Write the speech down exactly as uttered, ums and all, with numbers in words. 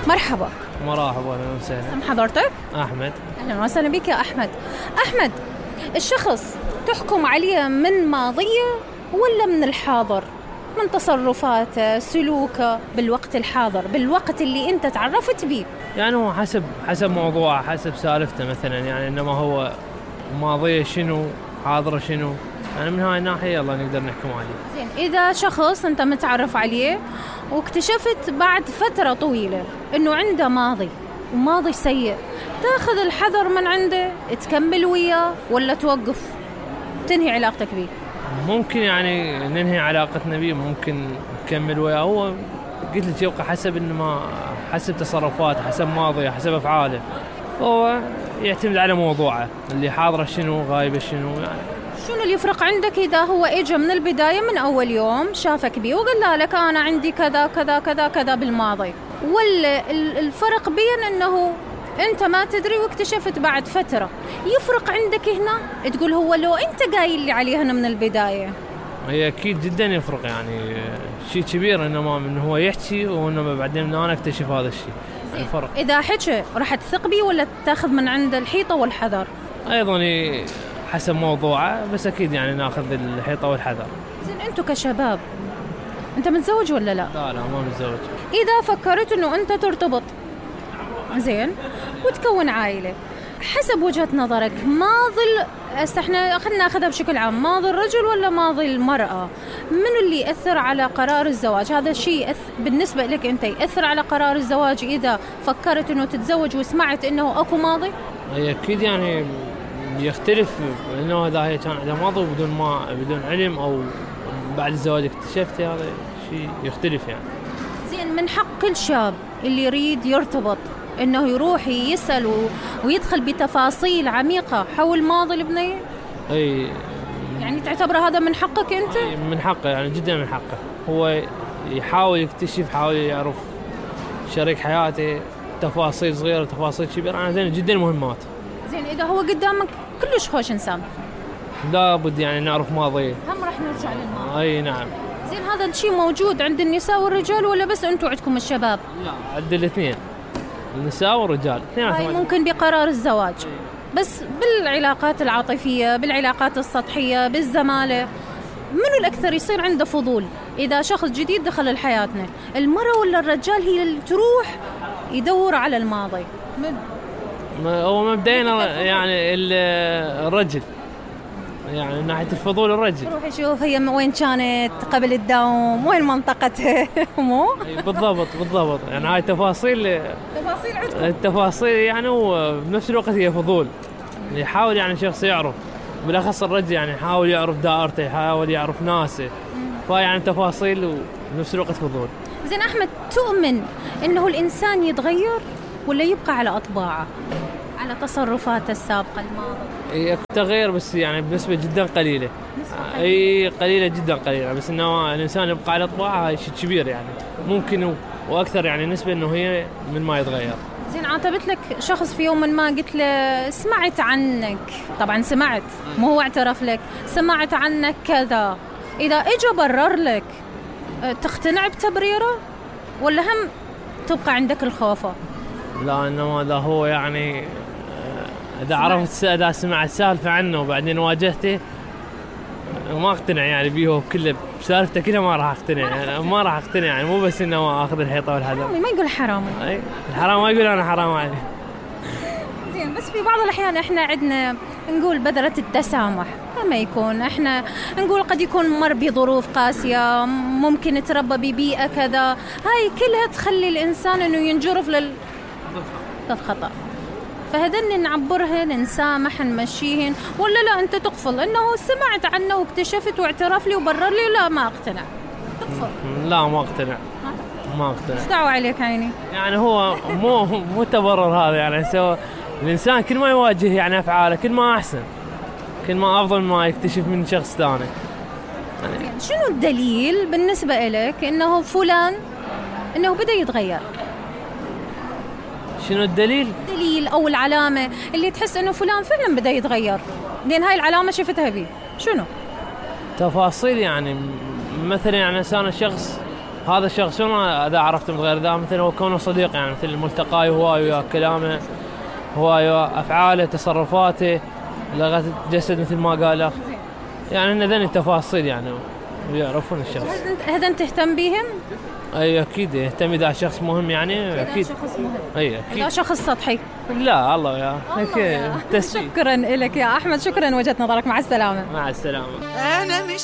مرحبا. مرحبا، اهلا وسهلا. اسم حضرتك؟ احمد. اهلا وسهلا بك يا احمد. احمد، الشخص تحكم عليه من ماضيه ولا من الحاضر؟ من تصرفاته، سلوكه بالوقت الحاضر، بالوقت اللي انت تعرفت به. يعني هو حسب حسب موضوعه، حسب سالفته مثلا، يعني انما هو ماضيه شنو، حاضره شنو، يعني من هاي الناحيه يلا نقدر نحكم عليه. زين، اذا شخص انت متعرف عليه واكتشفت بعد فتره طويله انه عنده ماضي وماضي سيء، تاخذ الحذر من عنده، تكمل وياه ولا توقف تنهي علاقتك به؟ ممكن يعني ننهي علاقتنا به، ممكن نكمل وياه. هو قلت لك يبقى حسب انه ما حسب تصرفاته، حسب ماضيه، حسب افعاله. هو يعتمد على موضوعه اللي حاضره شنو، غايبه شنو. يعني شنو اللي يفرق عندك اذا هو اجى من البدايه من اول يوم شافك بيه وقال لك انا عندي كذا كذا كذا كذا بالماضي، ولا الفرق بين انه انت ما تدري واكتشفت بعد فتره؟ يفرق عندك هنا تقول هو لو انت قايل لي عليه هنا من البدايه؟ هي اكيد جدا يفرق، يعني شيء كبير انما من هو يحكي وانما بعدين من انا اكتشف هذا الشيء. يعني فرق. اذا حكى راح تثق بيه ولا تاخذ من عنده الحيطه والحذر؟ ايضا حسب موضوعه، بس اكيد يعني ناخذ الحيطه والحذر. زين، انتم كشباب انت متزوج ولا لا؟ لا لا ما متزوج. اذا فكرت انه انت ترتبط زين وتكون عائله، حسب وجهة نظرك ماضي احنا خلينا ناخذها بشكل عام، ماضي الرجل ولا ماضي المرأة؟ منو اللي يأثر على قرار الزواج؟ هذا الشيء يأث... بالنسبة لك أنت يأثر على قرار الزواج إذا فكرت أنه تتزوج وسمعت أنه أكو ماضي؟ هي أكيد يعني يختلف، أنه إذا هي كان عندها ماضي بدون ما بدون علم أو بعد الزواج اكتشفت، هذا شيء يختلف يعني. زين، من حق كل شاب اللي يريد يرتبط انه يروح يسأل ويدخل بتفاصيل عميقة حول ماضي البنية؟ اي يعني تعتبر هذا من حقك انت؟ من حقه، يعني جدا من حقه. هو يحاول يكتشف، يحاول يعرف شريك حياته، تفاصيل صغيرة تفاصيل كبيرة، يعني هذين جدا مهمات. زين، اذا هو قدامك كلش خوش انسان لابد يعني نعرف ماضيه، هم راح نرجع للماضي. اي نعم. زين، هذا الشيء موجود عند النساء والرجال ولا بس انتم عندكم الشباب؟ لا، عند الاثنين، النساء والرجال. هاي ممكن بقرار الزواج، بس بالعلاقات العاطفية، بالعلاقات السطحية، بالزمالة، منو الأكثر يصير عنده فضول إذا شخص جديد دخل لحياتنا؟ المرأة ولا الرجال هي اللي تروح يدور على الماضي؟ منو؟ هو مبدئيا يعني الرجل، يعني من ناحية الفضول الرجل روح يشوف هي وين كانت قبل الدوام، وين منطقتها. مو بالضبط بالضبط، يعني هاي تفاصيل تفاصيل عندكم، التفاصيل يعني، وبنفس الوقت هي فضول. يحاول يعني شخص يعرف، بالاخص الرجل يعني يحاول يعرف دائرته، يحاول يعرف ناسه، فيعني تفاصيل وبنفس الوقت فضول. زين أحمد، تؤمن إنه الإنسان يتغير ولا يبقى على أطباعه، على تصرفاته السابقة الماضية؟ تغير بس يعني بنسبة جدا قليلة. اي قليلة جدا قليلة، بس انه الانسان يبقى على طباعه هاي شيء كبير، يعني ممكن واكثر يعني نسبة انه هي من ما يتغير. زين، عاتبت لك شخص في يوم ما قلت له سمعت عنك، طبعا سمعت مو هو اعترف لك، سمعت عنك كذا، اذا اجى برر لك تقتنع بتبريره ولا هم تبقى عندك الخوفة؟ لا، انما اذا هو يعني اذا عرفت اذا سمعت سالفة عنه وبعدين واجهته ما اقتنع يعني بيه كله، بسالفته كلها ما راح اقتنع، يعني ما راح اقتنع، يعني مو بس انه ما اخذ الحيطه والحذر. ما يقول حرامي، اي الحرام ما يقول انا حرام عليه. زين، بس في بعض الاحيان احنا عندنا نقول بذرة التسامح، لما يكون احنا نقول قد يكون مر بظروف قاسيه، ممكن تربى ببيئه كذا، هاي كلها تخلي الانسان انه ينجرف لل للخطا، فهذن نعبرهن، نسامح، نمشيهن، ولا لا انت تقفل انه سمعت عنه واكتشفت واعترف لي وبرر لي، لا ما اقتنع، تقفل؟ لا ما اقتنع، ما اقتنع. ايش دعوه عليك عيني؟ يعني هو مو مو تبرر هذا، يعني سو الانسان كل ما يواجه يعني افعاله كل ما احسن، كل ما افضل ما يكتشف من شخص ثاني. يعني شنو الدليل بالنسبه لك انه فلان انه بدا يتغير؟ شنو الدليل؟ الدليل او العلامه اللي تحس انه فلان فعلا بدا يتغير، لان هاي العلامه شفتها بيه، شنو؟ تفاصيل يعني، مثلا يعني انا شخص هذا الشخص شلون اذا عرفته من غير ذا؟ مثل هو كونه صديق، يعني مثل ملتقاي هواي وياه، كلامه هواي وياه، افعاله، تصرفاته، لغة الجسد مثل ما قال، يعني ان ذني التفاصيل يعني ويعرفون الشخص. هذا تهتم بهم؟ اي اكيد يهتم اذا شخص مهم، يعني اكيد. اذا شخص مهم. اي اكيد. اذا شخص سطحي لا الله يا شكرا لك يا احمد، شكرا وجهة نظرك، مع السلامه. مع السلامه. انا مش